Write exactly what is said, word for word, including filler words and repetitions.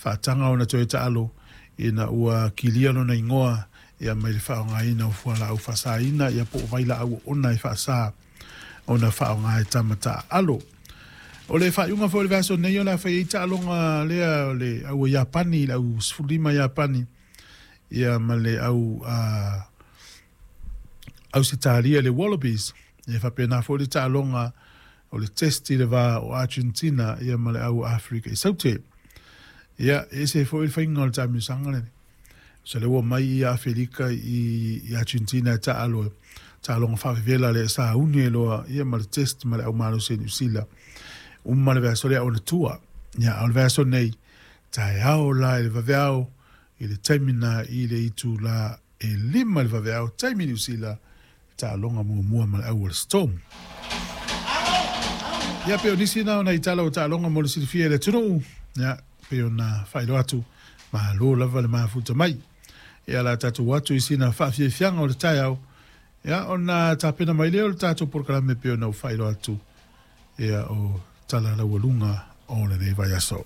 Faataga ona toe taalo ina ua kilia lona igoa ia mai le faaaogaina o fualaau faasaina ia po o vailaau oona e faasa ona faaaoga e tama taaalo. O le faaiuga foi o le vaiaso nei o le a fai ai taaloga lea o le au Iapani, le au sefululima Iapani ia ma le au uh, Ausetalia, le Wallabies. Ia faapena foi le taaloga o le test i le va o Argentina ia ma le au Afrika i Saute. Ia, e ese foi le faiga o le taamilosaga lenei. So le ua mai ia Afelika i, i Argentina e taalo taaloga faavevela le sa uni e loa ia ma le test ma le au malosi Niu Sila. Uma le vaiaso lea ona tua. Ia, o le vaiaso nei, taeao la i le vaveao, i le taimi na i le itula e lima le vaveao, taimi Niu Sila, taaloga muamua ma le au o le Storm. Ia pe o nisi na ona i tala o taaloga mo le silafia e le atunuu. Ia, pe ona faailoa atu, malo lava le mafuta mai. Ia la tatou atu i sina faafiafiaga o le taeao, ia ona tapena mai lea o le tatou polokalame pe ona u faailoa atu ia o tala laualuga o lenei vaiaso.